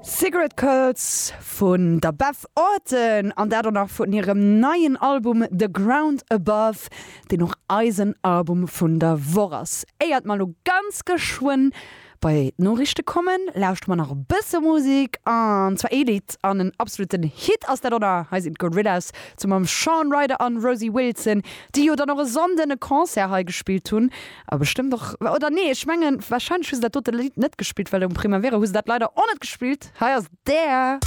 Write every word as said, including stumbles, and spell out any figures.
Cigarette Curls vun der Beth Orton an dat och nach vun hirem neien Album The Ground Above, deen och eisen Album vun der Woch ass. Éiert mer lo ganz geschwënn bei d'Noriichte kommen, lauschtere mer nach e bësse Musek an zwar ee Lidd an en absoluten Hit ass dat oder hei sinn d'Gorillaz zesumme mam Shaun Ryder an Rosie Wilson, déi jo dann och e Sonnden e Concert hei gespillt hunn awer bestëmmt och oder nee ech mengen warscheinlech hu se dat dote Lidd net gespillt, well um Primavera hu se dat leider och net gespillt hei ass der.